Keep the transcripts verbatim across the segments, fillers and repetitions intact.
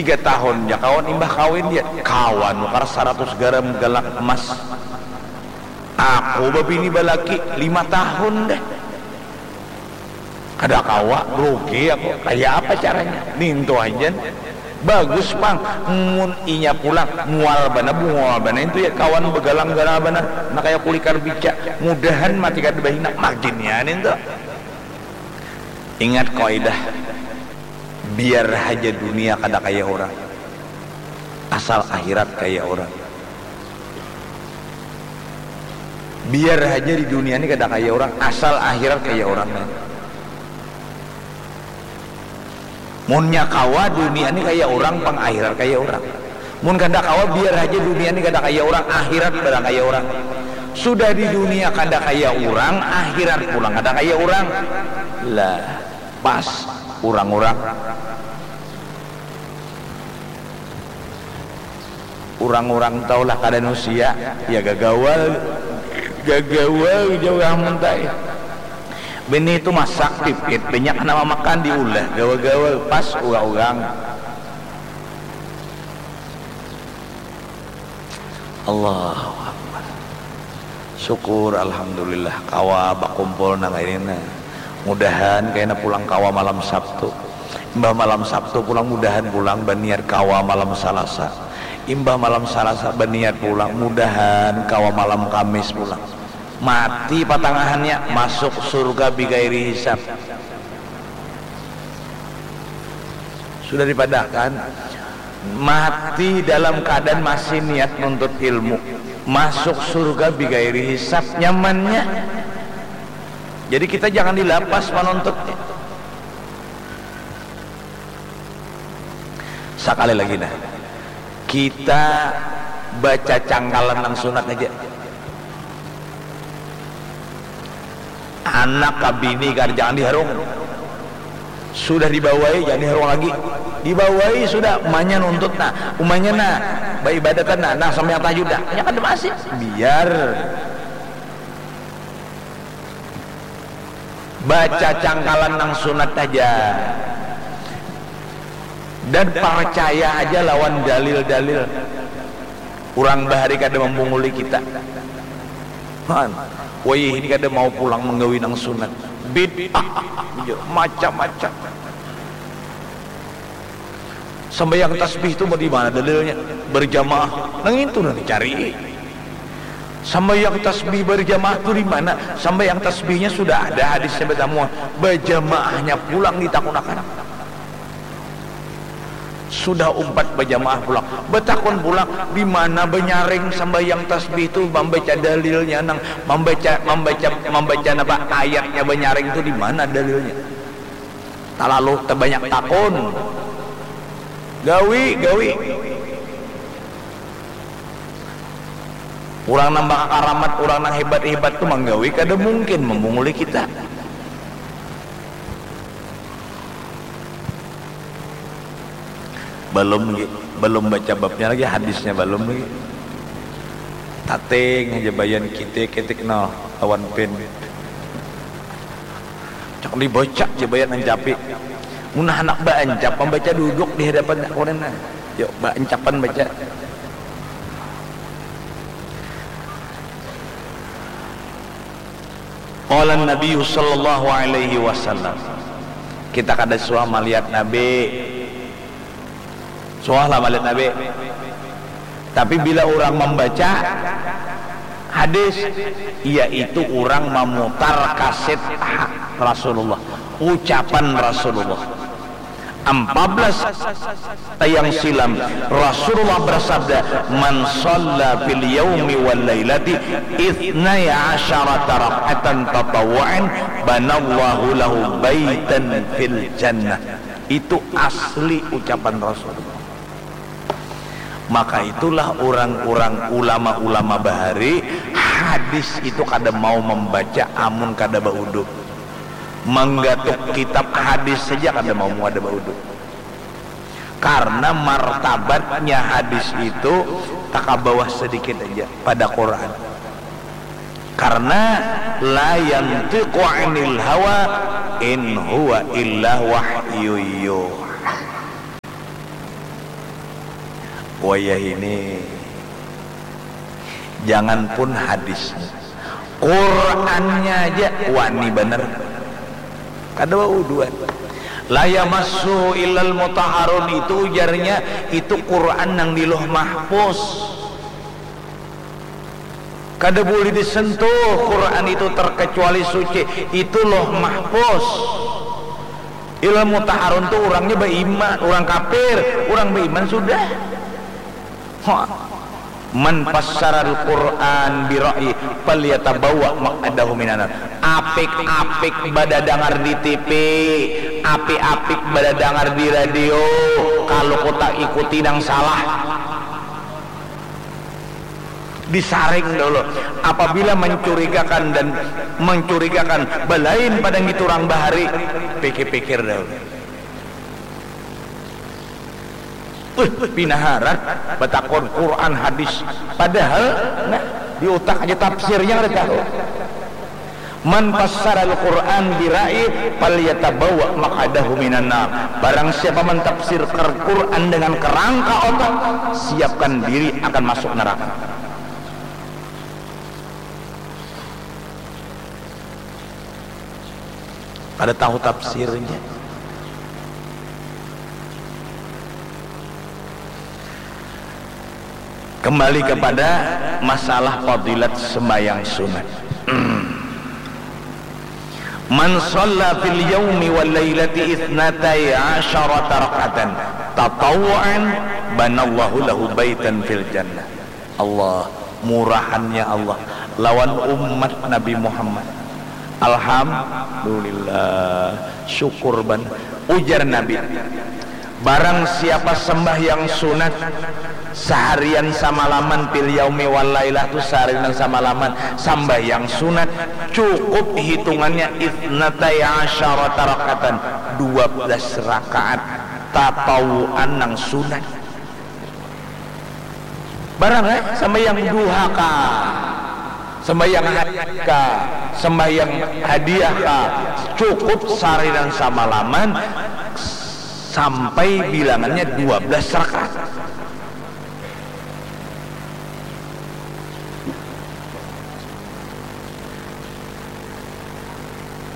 Tiga tahun ja kawan imbah kawin dia kawa nukar saratus garam galak emas. Aku babini balaki lima tahun deh. Kada kawa, rugi aku. Kaya apa caranya? Nintu haja. Bagus pang, mun inya pulang, mual banar, bungul banar itu ya kawan begalang ganal banar. Nah kaya kulikar bica, mudahan mati kada bahina, makin ya nintu. Ingat kaidah, biar haja dunia kada kaya orang, asal akhirat kaya orang. Biar haja di dunia ni kada kaya orang, asal akhirat kaya orang. Munnya kawa dunia ni kaya orang pang, akhirat kaya orang. Mun kada kawa, biar haja dunia ni kada kaya orang, akhirat barang kaya orang. Sudah di dunia kada kaya orang, akhirat pulang kada kaya orang. Lah, pas urang-urang. Urang-urang tahu lah kada nusia, ya gagawal, gagawal jauh muntai. Bini itu masak pipit, banyak nama makan diulah, gawa-gawa pas urang-urang. Allahu Akbar. Syukur, alhamdulillah, kawa bakumpul nang ini nah. Mudahan kaina pulang kawa malam Sabtu. Imbah malam Sabtu pulang, mudahan pulang baniat kawa malam Salasa. Imbah malam Salasa baniat pulang, mudahan kawa malam Kamis pulang. Mati patangahannya, masuk surga bigairi hisab. Sudah dipadakan, mati dalam keadaan masih niat nuntut ilmu, masuk surga bigairi hisab, nyamannya. Jadi kita jangan dilapas manuntutnya. Sakali lagi nah, kita baca cangkalan nang sunat aja. Anak ka bini kada jangan diharung. Sudah dibawai jangan diharung lagi. Dibawai sudah, umanya nuntut nah, umanya nah, baibadatan nah, nah sambayang tahajud nah. Nya kada masih. Biar baca cangkalan nang sunat aja. Dan percaya aja lawan dalil-dalil. Urang bahari kada mambunguli kita. Han, wayah ini kada mau pulang manggawi nang sunat. Bid'ah, macam-macam. Sambayang tasbih tu di mana dalilnya? Berjamaah. Nang itu nang dicari. Sambayang tasbih berjamaah tu di mana? Sambayang tasbihnya sudah ada hadisnya batamu. Berjamaahnya pulang ditakunakan. Sudah umpat bajamaah pulang, batakun pulang, di mana banyaring sambahyang tasbih tu, mambaca dalilnya nang, mambaca, mambaca, mambaca napa ayatnya banyaring tu, di mana dalilnya? Talalu tabanyak takun. Gawi, gawi. Urang nang bakakaramat, urang nang hebat-hebat tu manggawi kada mungkin mamunguli kita. Balum lagi, balum baca babnya lagi, hadisnya balum lagi. Tating haja bayan kitik kitik no lawan pin. Cak dibaca ja bayan ancapi. Mun handak baancap mambaca duduk di hadapan aku ni nah. Yuk baancapan baca. Qala Nabi sallallahu alaihi wasallam. Kita kada suah malihat Nabi. Suah lah malihat Nabi. Tapi bila urang mambaca hadis, yaitu urang mamutar kaset Rasulullah, ucapan Rasulullah. Empat belas yang silam Rasulullah bersabda, "Man shalla fil yaumi wal lailati ithnai asyarata rak'atan tatawwu'an banallahu lahu baitan fil jannah." Itu asli ucapan Rasulullah. Maka itulah urang-urang ulama-ulama bahari hadis itu kada mau mambaca amun kada baudu. Manggatuk kitab hadis saja kada mau kada baudu. Karena martabatnya hadis itu takabawah sedikit aja pada Quran. Karena la yantiqu anil hawa in huwa illa wahyu yuha. Wayah ini, janganpun hadisnya, Qurannya aja wani banar. Kada bauduan. La yamassuhu illal mutahharun itu ujarnya, itu Quran nang di Lauh Mahfuz. Kada boleh disentuh Quran itu terkecuali suci. Itu Lauh Mahfuz. Illal mutahharun tu urangnya baiman, urang kafir, urang baiman sudah. Ha. Man fassaral Quran bi ra'yi falyatabawa maq'adahu minan nar. Apik-apik badadangar di T V, apik-apik badadangar di radio, kalu kuta ikuti nang salah. Disaring dahulu. Apabila mencurigakan dan mencurigakan balain pada ngitu urang bahari, pikir-pikir dahulu. Wih, pina harat batakun Quran hadis. Padahal, nah, di utak aja tafsirnya kada tahu. Man fassaral Quran bi ra'yi falyatabawa maq'adahu minan nar. Barang siapa mentafsirkan Quran dengan kerangka otak, siapkan diri akan masuk neraka. Kada tahu tafsirnya. Kembali kepada masalah fadilat sembahyang sunat. Man shalla fil yaumi wal lailati itsnatai asyarata rak'atan tatawwu'an banallahu lahu baitan fil jannah. Allah, murahannya Allah lawan umat Nabi Muhammad. Alhamdulillah, syukur banar. Ujar Nabi, barang siapa sembahyang sunat saharian samalaman, fil yaumi wal lailah tu saharian samalaman, sambahyang sunat cukup hitungannya itsnatai asyarata rak'atan, dua belas rakaat tatawuan nang sunat. Barang, eh, sambahyang duha kah, sambahyang hajat kah, sambahyang hadiah kah, cukup saharian samalaman sampai bilangannya dua belas rakaat.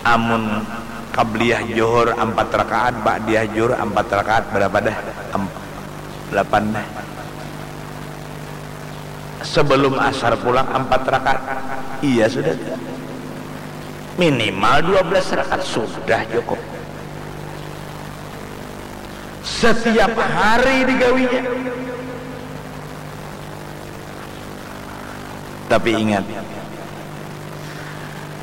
Amun qabliyah Johor ampat rakaat, ba'diyah Johor ampat rakaat, barapa dah? Am-, lapan dah. Sebelum asar pulang ampat rakaat. Iya sudah. Minimal dua belas rakaat sudah cukup. Setiap hari digawinya. Tapi ingat,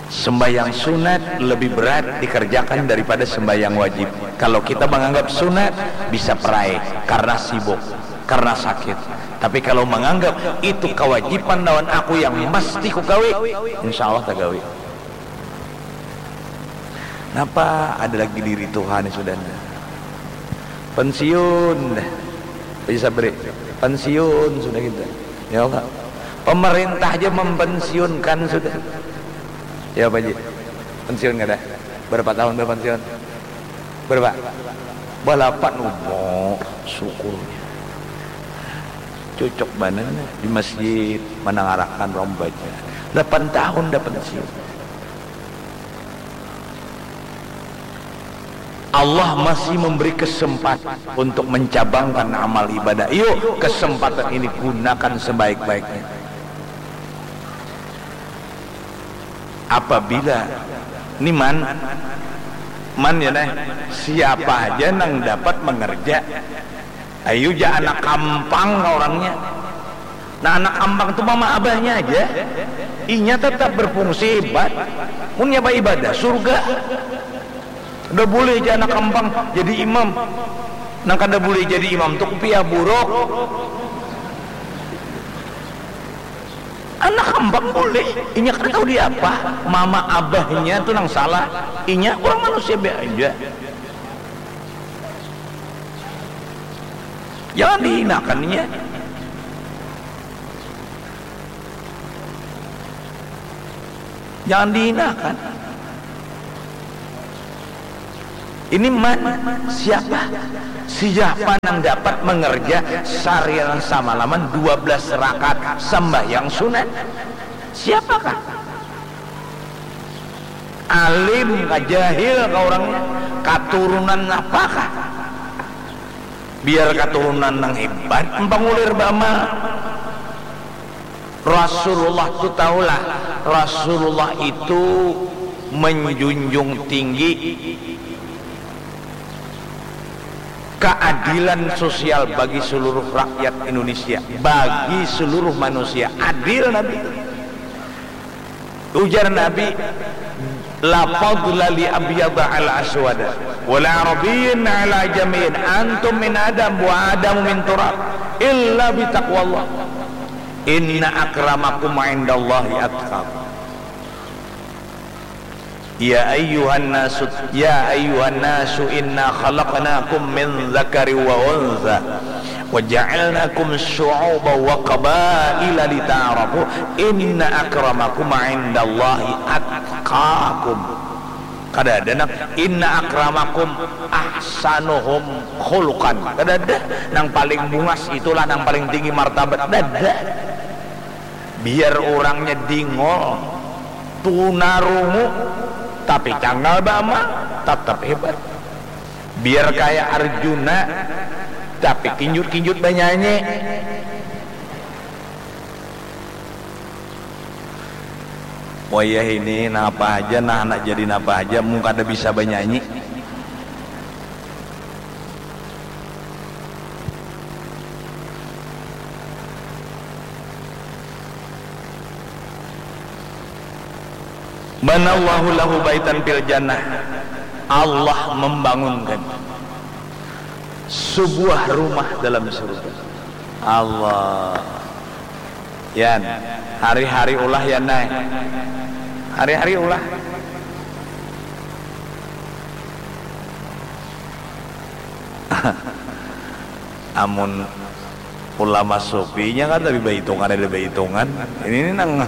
sembahyang sunat lebih berat dikerjakan daripada sembahyang wajib. Kalau kita menganggap sunat, bisa perai karena sibuk, karena sakit. Tapi kalau menganggap itu kewajiban lawan aku yang mesti kugawi, insya Allah tagawi. Napa ada lagi diri Tuhan sudah nih? Pensiun dah. Bisa beri pensiun sudah kita. Ya Allah. Pemerintah aja mempensiunkan sudah. Ya Pak Ji. Pensiun kada? Berapa tahun berpensiun? Berapa? Balapan. Oh, syukurnya. Cocok banar di masjid menangarakan orang baca. Lapan tahun dah pensiun. Allah masih memberi kesempatan untuk mencabangkan amal ibadah. Yuk, kesempatan ini gunakan sebaik-baiknya. Apabila ni man, man ya neh, siapa aja nang dapat mengerja, ayu ja anak kampang ka orangnya. Nah, anak kampang tu mama abahnya aja, inya tetap berfungsi hebat. Munnya baibadah surga. Kada boleh ja anak kampang jadi imam. Nang kada boleh jadi imam tu kupiah buruk. Anak kampang boleh, inya kada tahu diapa. Mama abahnya tu nang salah, inya urang manusia biasa aja. Jangan dihinakan inya. Jangan dihinakan. Ini man, siapa? Siapa nang dapat mengerja sariaran samalaman dua belas rakaat sambahyang sunat? Siapakah? Alim kah, jahil kah orangnya? Katurunan apakah? Biar katurunan nang hebat, empangulir bama. Rasulullah tu tahulah, Rasulullah itu menjunjung tinggi keadilan sosial bagi seluruh rakyat Indonesia, bagi seluruh manusia. Adil Nabi. Ujar Nabi, "La fadla li abyada ala aswada, wala arabiyyin ala ajamiyyin. Antum min Adam wa Adamu min turab, illa bitaqwallah. Inna akramakum indallahi atqakum." Ya ayyuhan nasu, ya ayyuhan nasu, inna khalaqnakum min dzakari wa untha wa ja'alnakum syu'uba wa qabaila lita'arafu, inna akramakum indallahi atqakum. Kada ada nang inna akramakum ahsanuhum khuluqan. Kada ada. Nang paling bungas itulah nang paling tinggi martabat. Kada ada. Biar urangnya dingol, tunarungu, tapi canggal bama, tatap hebat. Biar kaya Arjuna, tapi kinjut-kinjut banyanyi. Wayah ini napa haja, nah, handak jadi napa haja, mun kada bisa banyanyi. Banallahu lahu baitan fil jannah. Allah membangunkan sebuah rumah dalam surga. Allah. Yan, hari-hari ulah, Yan, ai. Hari-hari ulah. Amun ulama sufinya kan tapi bahitungan ada bahitungan. Ini, ini nang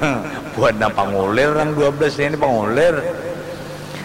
buat nang pangulir, nang dua belas ini pangulir.